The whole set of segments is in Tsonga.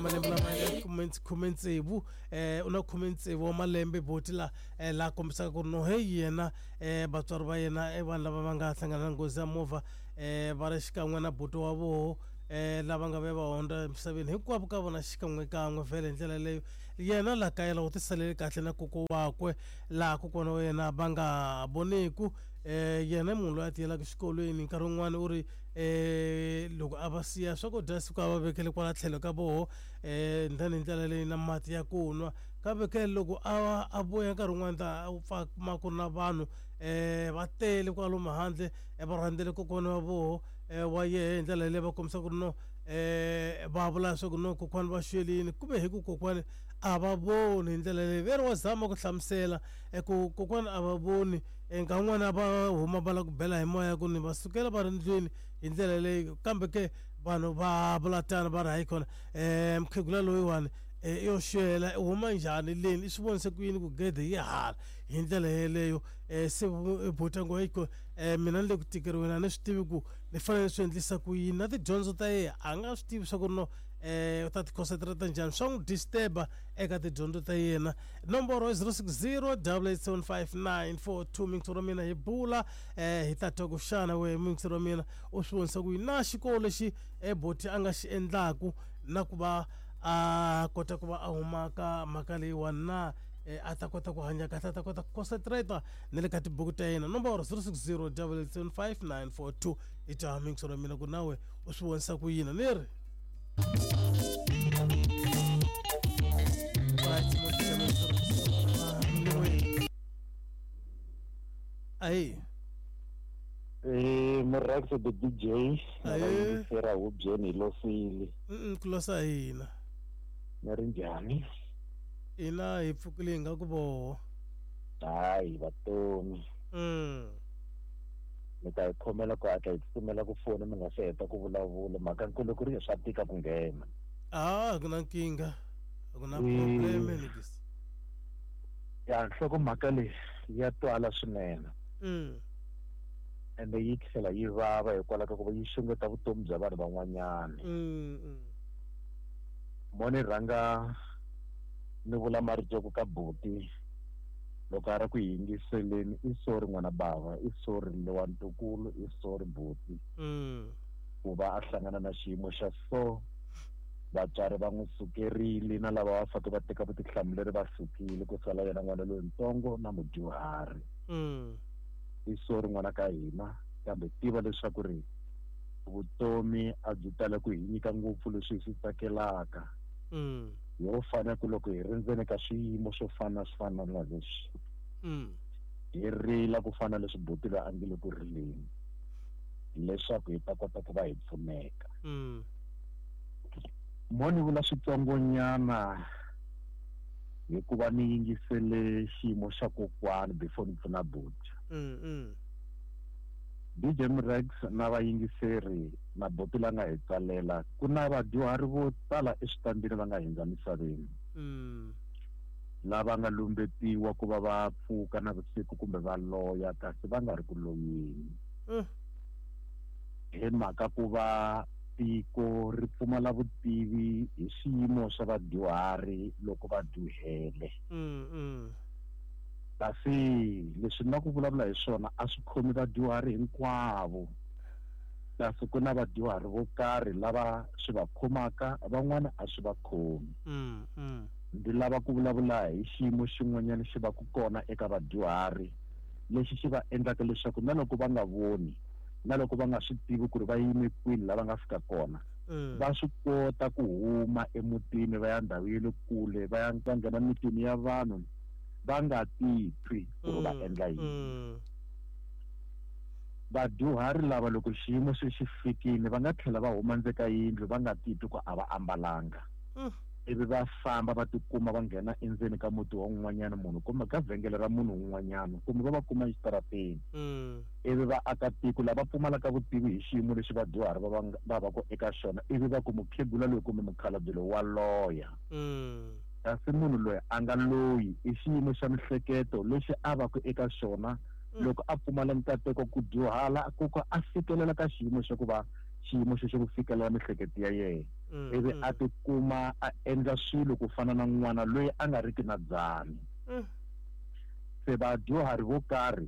malembe lama 16, u na 16 wa malembe boti la la kombisaka ku ri no hey yena vatswari va yena i vanhu lava va nga hlangana na nghozi ya movha va ri xikan'we na buti wa voho lava nga ve va hundza emisaveni hinkwavo ka vona xikan'wekan'we vhele hi ndlela leyo yena la kaya la u tisalele kahle na koko wakwe laha kokwana wa yena va nga voneku yena i munhu loyi a tiyelaka xikolweni nkarhi wun'wani u ri loko a va siya swakudya siku a va vekele kwala tlhelo ka voho then hi ndlela leyi na mati ya ku nwa kambe ke loko a vuya nkarhi wun'wani ta pfa kuma ku ri na vanhu va tele kwalomu handle va rhandzele kokwana wa voho wa yehe hi ndlela leyi va kombisa ku ri no va vula leswaku no kokwani va xwelini kumbe hi ku kokwani a va voni hi ndlela leyi ve ri wa zama ku hlamusela ku kokwani a va voni nkarhi wun'wani a va huma va lava ku bela hi moya ku ni va sukela va ri ndlwini hi ndlela leyi kambe ke vanhu va vula tano va ri hayi khona mukhegula loyiwani yo xwela u huma njhani leni i swi vonise ku yini ku gede yi hala hi ndlela yeleyo se buta ngo hiko mina ni le ku tikeriweni a ni swi tivi ku ni fanele swi endlisa ku yini na tidyondzo ta yena a nga swi tivi swa ku ri no u ta ti concentrate njhani swa n'wi disturba eka tidyondzo ta yena nomboro i 060 875 mintshuri wa mina hi bula hi ta twa ku xana we mintshuri wa mina u swi vonisa ku yini na xikolo lexi boti a nga xi endlaku na ku va a kota ku va a huma ka mhaka leyiwani na a ta kota ku hanya kahle a ta kota ku concentrate na le ka tibuku ta yena nomboro 060 875 i twa mintshuri wa mina ku nawe u swi vonisa ku yini ni ri ayi Murax the DJ na vayingisera hubyeni hi losile ku losa hina ni ri njhani ina hi pfukile hi nga ku voho hayi vatomi mi ta hi khomela ku hatla hi tsutsumela ku fona mi nga se heta ku vulavula mhaka nkulu ku ri swa tika ku nghena a ku na nkingha a ku na probleme nikisi ya nhlokomhaka leyi ya twala swinene ende yi tlhela yi vava hikwalaho ka ku va yi xungeta vutomi bya vanhu van'wanyana mo ni rhanga ni vula marito ya ku ka buti loko a ri ku yingiseleni i sorry n'wana bava i sorry lowa ntukulu i sorry buti ku va a hlangana na xiyimo xa so vatswari va n'wi sukerile na lava va fanele va teka vutihlamuleri va sukile ku sala yena n'wana loyintsongo na mudyuhari i sorry n'wana ka hina kambe tiva leswaku ri vutomi a byi tala ku hi nyika ngopfu leswi hi swi tsakelaka yo fanele ku loko hi ri ndzeni ka swiyimo swo fana swi fana na leswi hi rila ku fana leswi buti loyi a nge le ku rileni leswaku hi ta kota ku va hi pfuneka mo ni vula switsongonyana hikuva ni yingisele xiyimo xa kokwani before ni pfuna buti DJ Mrex na vayingiseri na buti la nga hi tsalela ku na vadyuhari vo tala eswitandini va nga hindza misaveni lava nga lumbetiwa ku va va pfuka na vusiku kumbe va loya kasi va nga ri ku loyeni hi mhaka ku va tiko ri pfumala vutivi hi swiyimo swa vadyuhari loko va dyuhele kasi leswi na ku vulavula hi swona a swi khomi vadyuhari hinkwavo kasi ku na vadyuhari vo karhi lava swi va khomaka van'wana a swi va khomi ndzi lava ku vulavula hi xiyimo xin'wanyana xi va ku kona eka vadyuhari lexi xi va endlaka leswaku na loko va nga voni na loko va nga swi tivi ku ri va yime kwini lava nga fika kona va swi kota ku huma emutini va ya ndhawu ya le kule va ya va nghena mitini ya vanhu va nga titwi ku ri va endla yini vadyuhari lava loko xiyimo se xi fikile va nga tlhela va huma ndzeni ka yindlu va nga titwi ku a va ambalanga ivi va famba va tikuma va nghena endzeni ka muti wa un'wanyana munhu kumbe ka vhengele ra munhu un'wanyana kumbe va va kuma exitarateni ivi va aka tiko lava pfumalaka vutivi hi xiyimo lexi vadyuhari va va ku eka xona ivi va ku mukhegula loyi kumbe mukhalabye loyi wa loya kasi munhu loyi a nga loyi i xiyimo xa mihleketo lexi a va ku eka xona loko a pfumala nkateko ku dyuhala ku ka a fikelela ka xiyimo xa ku va Xiyimo xexo ku fikelela mihleketo ya yena, ivi a tikuma a endla swilo ku fana na n'wana loyi a nga riki na dzani. Se vadyuhari vo karhi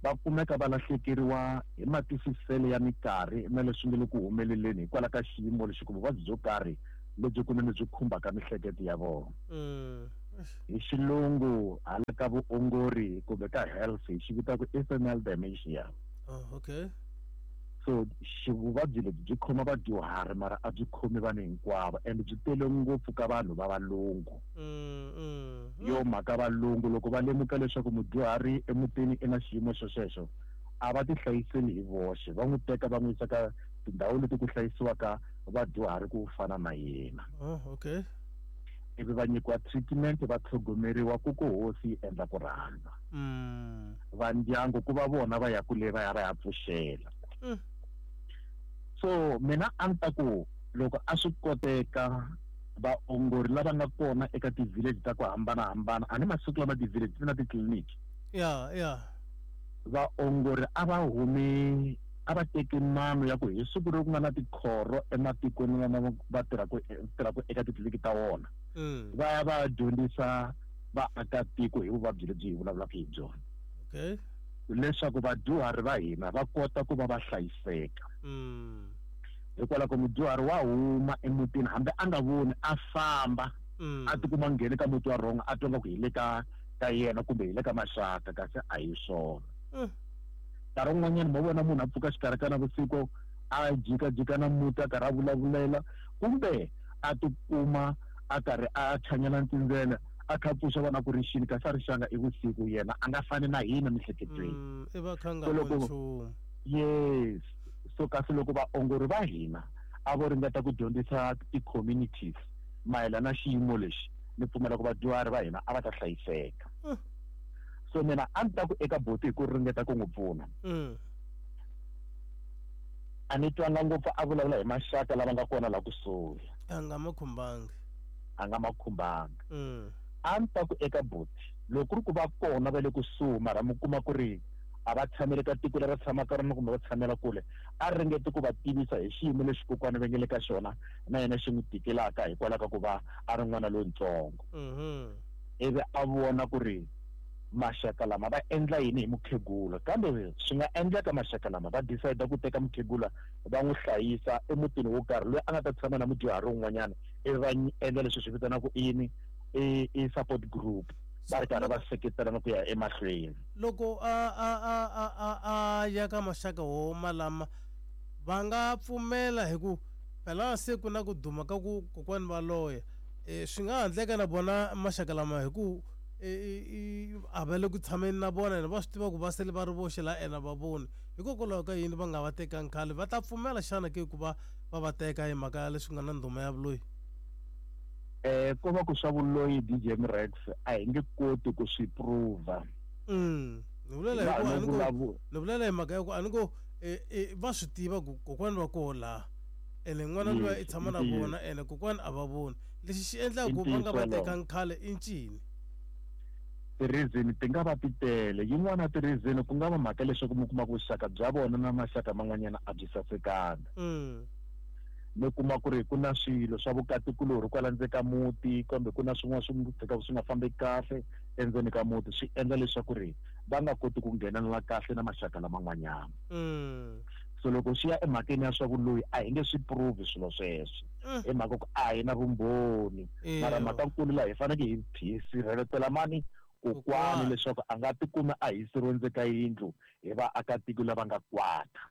va kumeka va lahlekeriwa hi matwisiselo ya minkarhi na leswi nga le ku humeleleni hikwalaho ka xiyimo lexi kumbe vuvabyi byo karhi lebyi kunene byi khumbaka mihleketo ya vona. Hi xilungu hala ka vuongori kumbe ka health hi xi vitaka i senile dementia. Oh, okay. So vuvabyi lebyi byi khoma vadyuhari, mara a byi khomi vanhu hinkwavo, and byi tele ngopfu ka vanhu va valungu. Yo mhaka valungu loko va lemuka leswaku mudyuhari emutini i na xiyimo xo xexo, a va tihlayiseli hi voxe, va n'wi teka va n'wi yisa ka tindhawu leti ku hlayisiwaka vadyuhari ku fana na yena. Oh, okay. Ivi va nyikiwa treatment, va tlhogomeriwa ku ku hosi yi endla ku rhandza. Va ndyangu ku va vona va ya kule va ya va ya pfuxela. So mina a ni ta ku loko a swi koteka vaongori lava nga kona eka ti-village ta ku hambanahambana, a ni masiku lama ti-village ti na titliliniki. Ya. Vaongori a va humi, a va teki mano ya ku hi siku leri ku nga na tikhoro ematikweni lama va tirhaka eka titliliniki ta wona, va ya va dyondzisa vaakatiko hi vuvabyi lebyi hi vulavulaka hi byona. Okay. Leswaku vadyuhari va hina va kota ku va va hlayiseka. Hikwalaho mudyuhari wa huma emutini hambi a nga voni, a famba, a tikuma nghene ka muti wa wrong, a twa nga ku hi le ka yena kumbe hi le ka maxaka, kasi a hi swona. Nkarhi wun'wanyana mo vona munhu a pfuka xikarhi ka navusiku a jikajika na muti a karhi a vulavulela, kumbe a tikuma a karhi a chanyela ntsindzele, a kha pfuxa vana ku ri xini, kasi a ri xanga i vusiku, yena a nga fani na hina miehleketweni. I va kha nga voni nchumu. Yes. So kasi loko vaongori va hina a vo ringeta ku dyondzisa ti-communities mayelana na xiyimo lexi, ni pfumela ku vadyuhari va hina a va ta hlayiseka. So mina a ni ta ku eka buti hi ku ringeta ku n'wi pfuna. A ni twanga ngopfu a vulavula hi maxaka lava nga kona laha kusuhi. A nga ma khumbangi. A nga ma khumbangi. A ni ta ku eka buti loko ku ri ku va kona va le kusuhi, mara mi kuma ku ri a va tshamele ka tiko leri va tshamaka rona kumbe va tshamela kule, a ringete ku va tivisa hi xiyimo lexi kokwana va nge le ka xona na yena xi n'wi tikelaka hikwalaho ka ku va a ri n'wana lontsongo. Ivi a vona ku ri maxaka lama va endla yini hi mukhegula, kambe swi nga endleka maxaka lama va decide ku teka mukhegula va n'wi hlayisa emutini wo karhi loyi a nga ta tshama na mudyuhari wun'wanyana, ivi va endla leswi swi vitanaka yini, i support group, va ri karhi va seketelana ku ya emahlweni. Loko a ya ka maxaka wo malama va nga pfumela, hi ku phela se ku na ku duma ka ku kokwani va loya, swi nga handleka na vona maxaka lama hi ku a va le ku tshameni na vona, ene va swi tiva ku va sele va ri voxe laha ene va voni. Hikokwalaho ka yini va nga va tekangi khale? Va ta pfumela xana ke ku va va va teka hi mhaka ya leswi nga na ndhuma ya vuloyi? Ko va ku swa vuloyi DJ Mrex a hi nge koti ku swi prova. Ni vulela hi ku a ni ko, ni vulela hi mhaka ya ku a ni ko, va swi tiva ku kokwani va koho laha, ene n'wana luya i tshama na vona, ene kokwani a va voni. Lexi xi endlaka ku va nga va tekangi khale i ncini? Ti-reason ti nga va ti tele. Yin'wana ya ti-reason ku nga va mhaka leswaku mi kuma ku vuxaka bya vona na maxaka man'wanyana a byi sasekanga. Mi kuma ku ri ku na swilo swa vukatikulorhi kwala ndzeni ka muti, kambe ku na swin'wana swi tshikaka swi nga fambeki kahle endzeni ka muti, swi endla leswaku ri va nga koti ku nghenelela kahle na maxaka laman'wanyana. So loko swi ya emhakeni ya swa vuloyi a hi nge swi prove swilo sweswo, hi mhaka ku a hi na vumbhoni. Mara mhaka nkulu laha hi fanekele hi sirheletela mani kokwani leswaku a nga tikumi a hiseriwe ndzeni ka yindlu hi vaakatiko lava nga kwata.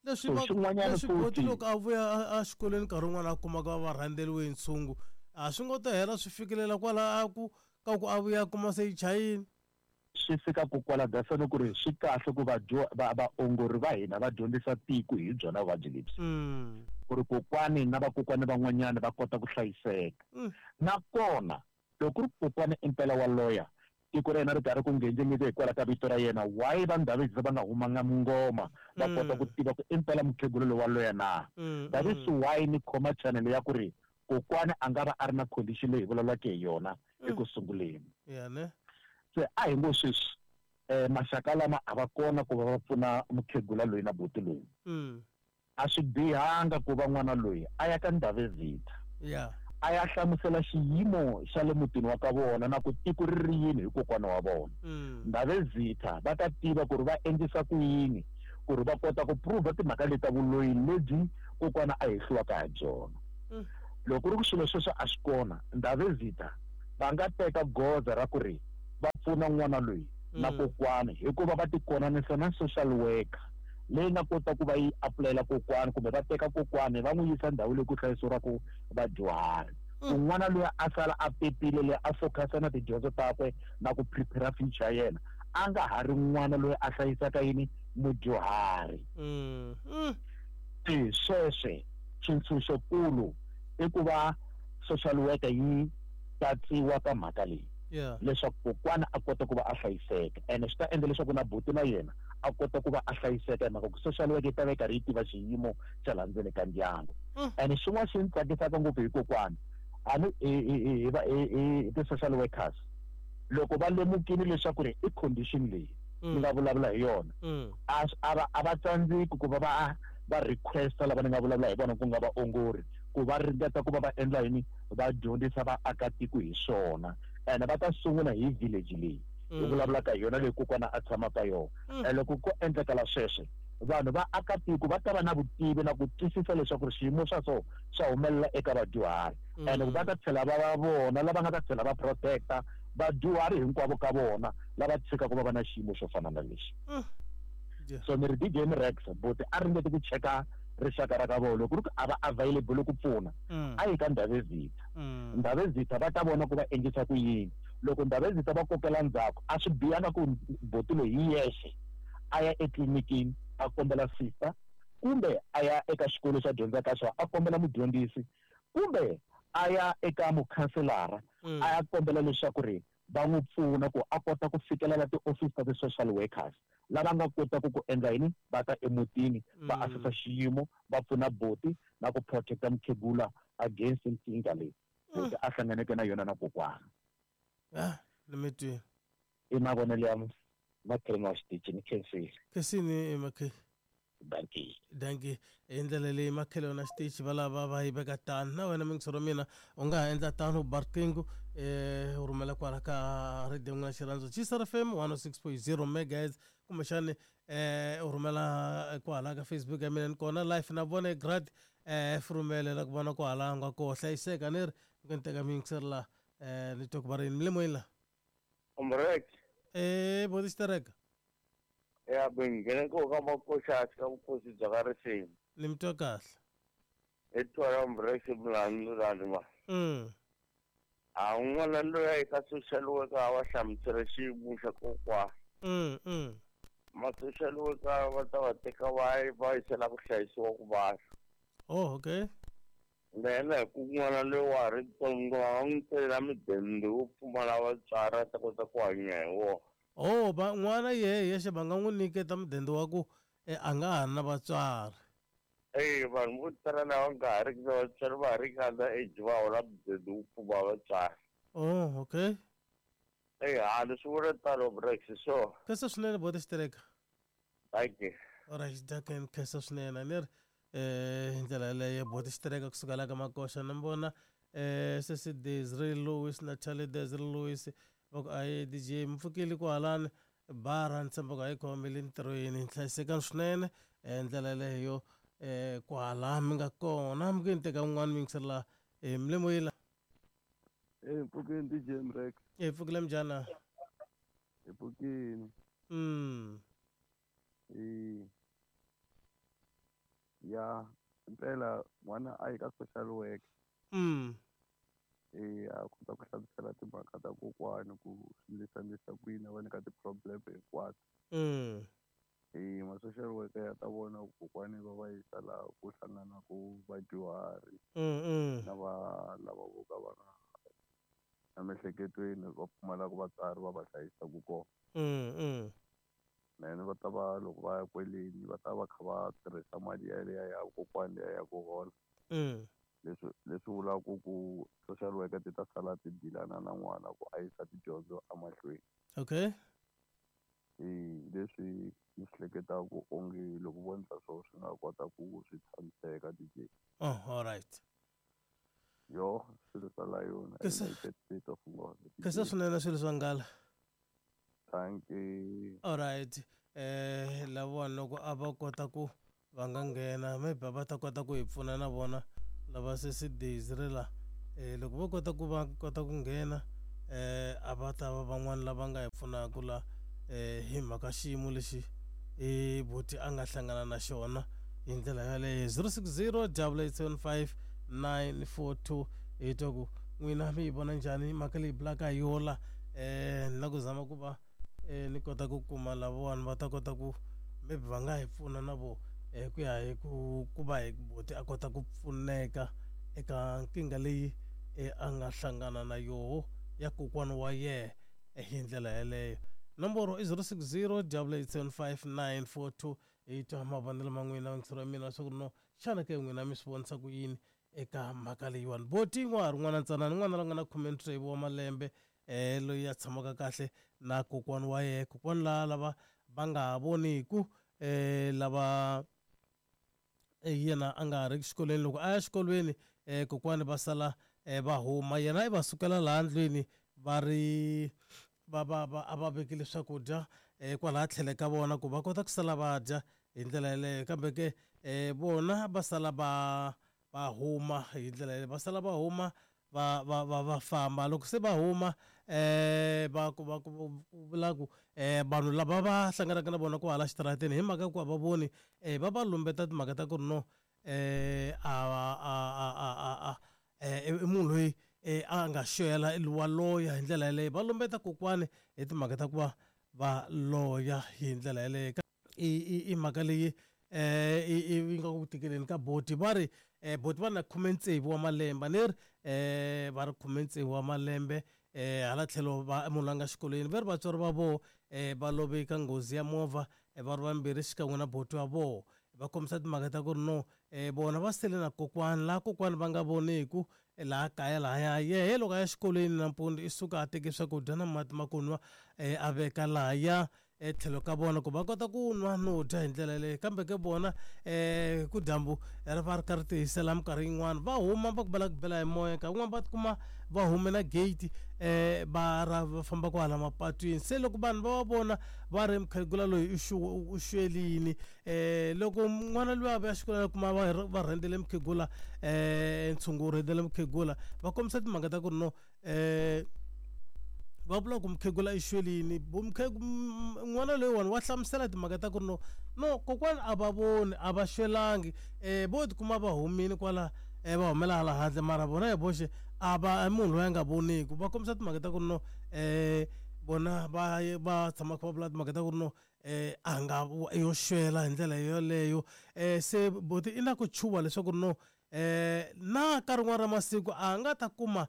Leswi So, xin'wanyana leswi boti futhi loko a vuya a xikolweni nkarhi wun'wana a kumaka va rhandzeriwe hi ntshungu, a swi ngo ta hela swi fikelela kwala a ku ka ku a vuya a kuma se yi chayini. Swi fika ku kwala dasani ku ri swi kahle ku vaongori va hina va dyondzisa tiko hi byona vuvabyi lebyi. Ku ri kokwani na vakokwani van'wanyana va kota ku hlayiseka. Nakona loko ku ri kokwani impela wa loya, tiko ra yena ri karhi ku nghenjengeke hikwalaho ka vito ra yena, why va Ndhavezitha va nga humanga mungoma va kota ku tiva ku impela mukhegula loyi wa loya na? That is why ni khoma channel ya ku ri kokwani a nga va a ri na condition leyi hi vulavulaka hi yona eku sunguleni. Ya ne? Se a hi ngo sweswi, maxaka lama a va kona ku va va pfuna mukhegula loyi na buti loyi. A swi bihanga ku va n'wana loyi a ya ka Ndhavezitha. A ya hlamusela xiyimo xa le mutini wa ka vona na ku tiko ri ri yini hi kokwana wa vona. Ndhavezitha va ta tiva ku ri va endlisa ku yini ku ri va kota ku prove timhaka leti ta vuloyi lebyi kokwana a hehliwaka ha byona. Loko ku ri ku swilo sweswo a swi kona, Ndhavezitha va nga teka goza ra ku ri va pfuna n'wana loyi na kokwana hikuva va tikonanisa na social worker leyi nga kota ku va yi apulayela kokwana kumbe va teka kokwana va n'wi yisa ndhawu leyi ku hlayisiwaka vadyuhari. Ku n'wana loyi a sala a pepile leyi a focus-a na tidyondzo takwe na ku prepare future ya yena, a nga ha ri n'wana loyi a hlayisaka yini mudyuhari. E sweswe xintshunxokulu i ku va social worker yi katsiwa ka mhaka leyi leswaku kokwana a kota ku va a hlayiseka, ene swi ta endla leswaku na buti na yena a kota ku va a hlayiseka hi mhaka ku social worker yi ta va yi karhi yi tiva xiyimo xa laha ndzeni ka ndyangu. Ene xin'wana xi ni tsakisaka ngopfu hi kokwana a ni hi ti-social workers loko va lemukile leswaku ri i condition leyi ni nga vulavula hi yona, a va tsandzeki ku va va request-a lava ni nga vulavula hi vona ku nga vaongori ku va ringeta ku va va endla yini, va dyondzisa vaakatiko hi swona. Ene va ta sungula hi village leyi hi vulavulaka hi yona leyi kokwana a tshamaka yona. Ene loko ko endlekela sweswo, vanhu va akatiko va ta va na vutivi na ku twisisa leswaku xiyimo swa so swa humelela eka vadyuhari. Ene va ta tlhela va va vona lava nga ta tlhela va protect-a vadyuhari hinkwavo ka vona lava tshikaka va va na xiyimo xo fana na lexi. So ni ri DJ Rex buti a ringete ku cheka rixaka ra ka vona loko ku ri ku a va available ku pfuna, a yi ka Ndhavezitha. Ndhavezitha va ta vona ku va endlisa ku yini. Loko Ndhavezitha va kokela ndzhaku, a swi bihanga ku buti loyi hi yexe a ya etlilinikini a kombela sister, kumbe a ya eka xikolo xa dyondzaka xona a kombela mudyondzisi, kumbe a ya eka mukhanselara a ya kombela leswaku ri va n'wi pfuna ku a kota ku fikelela tiofisi ta ti-social workers lava nga kotaka ku endla yini, va ta emutini va asesa xiyimo, va pfuna buti na ku protect-a mukhegula against nkingha leyi buti a hlanganeke na yona na kokwana. Ni mi twile. I mavonelo ya makhelwani wa xitichi, ni khensile. Khensini makhe. Dankie. Dankie. Hi ndlela leyi makhelwani na xitichi va lava va yi veka tano. Na wena mingisero mina u nga ha endla tano, u ba riqingho u rhumela kwala ka radio n'wina xirhandzu Gcr FM 106.0 megahertz, kumbexani u rhumela kwala ka Facebook ya mina ni kona live na vona grad furumele la ku vona kwala nga koho hlayiseka ni ri ni teka mingisero la ni twa ku va ri yini moyeni la. Umrek. Boti xitereka. Ya bengene ko ka makoxa ka vukosi bya ka risimu. Ni mi twa kahle. I twa Umrek mlani ma. A n'wana loyi a ka social worker a va hlamusela xiyimo xa kokwana. Ma social worker va ta va teka va va yisela ku hlayisiwa ku vanhu. Oh, okay. Then ku n'wana loyi wa ha ri ntsongo va n'wi tselela midende wo pfumala vatswari a ta kota ku hanya hi wona. Oh, va n'wana yehe yexe va nga n'wi nyiketa mudende wa ku a nga ha ri na vatswari. Vanhu vo tala lava nga ha riki na vatswari va ha ri ka under age va hola mudende wo pfumala vatswari. Oh, okay. Ha ni swi vula tano Brex so. Khensa swinene boti xitereka. Thank you. Alright, daken khensa swinene ni ri hi ndlela yeleyo boti xitereka kusuka la ka makoxa ni vona sesi Desiree Lewis na Charlie Desiree Lewis va ku ayi DJ mi pfukile kwahalani bara ni tshemba ku a yi khomile ntirhweni hlayisekani swinene ndlela yeleyo kwahala mi nga kona mi ku ni teka un'wana mi yingisela mlemoyila. Pfukeni DJ Mrex. Pfukile mjana. Hi pfukile. Ya impela n'wana a yi ka social work. A kota ku hlamusela timhaka ta kokwani ku swi ndlisa ku yini a va nyika ti-problem hinkwato. Ma social worker ya ta vona ku kokwani va va yisa laha ku hlanganaku vadyuhari na va lava vo ka va nga emiehleketweni va pfumalaka vatswari va va hlayisaka kona. Then va ta va loko va ya kweleni va ta va kha va tirhisa mali yaliya ya kokwani liya ya ku hola. Leswi vulaka ku social worker ti ta sala ti dilana na n'wana ku a yisa tidyondzo emahlweni. Okay. Hi leswi ni swi hleketaka onge loko vo endla swona swi nga kota ku swi tshamiseka DJ. Oh, all right. Yo, swilo swa Lion, United States of Nghoza. Khensa swinene swilo swa nghala. Thank you. All right. Lavawani loko a va kota ku va nga nghena maybe va ta kota ku hi pfuna na vona lava sesi Daisy ri la loko vo kota ku va kota ku nghena a va ta va van'wani lava nga hi pfunaka la hi mhaka xiyimo lexi i buti a nga hlangana na xona hi ndlela yaleyo. 060 875 942 hi twa ku n'wina mi yi vona njhani mhaka leyi bulaka hi yola. Ni la ku zama ku va ni kota ku kuma lavawani va ta kota ku maybe va nga hi pfuna na vo ku ya hi ku va hi buti a kota ku pfuneka eka nkingha leyi a nga hlangana na yoho ya kokwana wa yehe hi ndlela yaleyo. Nomboro i 060 875 942. Hi twa mavonelo ma n'wina yingiselo ya mina leswaku no xana ke n'wina mi swi vonisa ku yini eka mhaka leyiwani. Boti n'wa ha ri n'wana ntsanana, n'wana la nga na 16 wa malembe, loyi a tshamaka kahle na kokwana wa yena, kokwana la lava va nga ha voniku, lava yena a nga ha ri xikolweni. Loko a ya xikolweni, kokwani va sala va huma, yena i va sukela laha ndlwini va ri va va va a va vekile swakudya kwalaha tlhelo ka vona ku va kota ku sala va dya hi ndlela yeleyo. Kambe ke vona va sala va va huma hi ndlela yeleyo, va sala va huma va va va va famba. Loko se va huma va ku va ku vula ku vanhu lava va hlanganaka na vona kwahala xitarateni hi mhaka ku a va voni, va va lumbeta timhaka ta ku ri no a a a a a i munhu loyi a nga xwela wa loya hi ndlela yeleyo. Va lumbeta kokwani hi timhaka ta ku va va loya hi ndlela yeleyo. I mhaka leyi yi nga ku tikeleni ka boti. Va ri boti va na 16 wa malembe, ni ri va ri 16 wa malembe, hala tlhelo va munhu la nga xikolweni. Va ri vatswari va voho va love ka nghozi ya movha, va ri vambirhi xikan'we na boti wa voho. Va kombisa timhaka ta ku ri no vona va sele na kokwani, laha kokwani va nga voniku laha kaya lahaya. Yehe loko a ya xikolweni nampundzu i suka a teke swakudya na mati ma ku nwa, a veka lahaya etlhelo ka vona ku va kota ku nwa no dya hi ndlela yeleyo. Kambe ke vona ku dyambu ri va ri kha ri tihisela minkarhi yin'wani va huma va ku va lava ku bela hi moya, nkarhi wun'wani va tikuma va hume na gate va ra va famba kwahala mapatwini. Se loko vanhu va va vona va ri mukhegula loyi u xwelini, loko n'wana loyi a vuya xikolweni a kuma va rhendzele mukhegula, ntshungu wu rhendzele mukhegula, va kombisa timhaka ta ku ri no va vula ku mukhegula i xwelini. N'wana loyiwani wa hlamusela timhaka ta ku ri no no kokwani a va voni, a va xwelangi, vo tikuma va humile kwala, va humela hala handle, mara vona hi voxe a va munhu loyi a nga voniku. Va kombisa timhaka ta ku ri no vona va va tshama kha va vula timhaka ta ku ri no a nga yo xwela hi ndlela yoleyo. Se boti i na ku chuha leswaku ri no na ka rin'wana ra masiku a nga ta kuma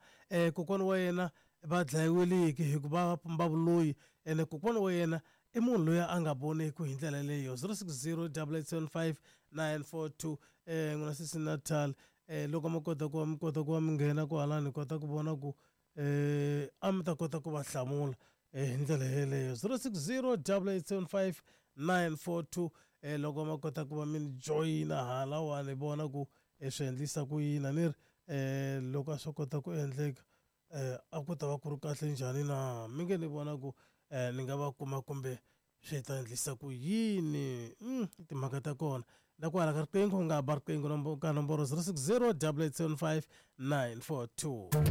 kokwana wa yena va dlayiweliki hikuva va pumba vuloyi, ene kokwana wa yena i munhu loyi a nga voniku hi ndlela leyo. 060 875 942. N'wina sesi Natal, loko mi kota ku va mi kota ku va mi nghena kwahalani hi kota ku vona ku a mi ta kota ku va hlamula hi ndlela yeleyo. 060 875 942. Loko ma kota ku va mi ni joyina halawani hi vona ku swi endlisa ku yini. A ni ri loko a swi kota ku endleka a ku ta va ku ri kahle njhani na? Mi nge ni vona ku ni nga va kuma kumbe swi ta endlisa ku yini? Timhaka ta kona na ku hala ka riqingho u nga ba riqingho ka nomboro 060 875 942.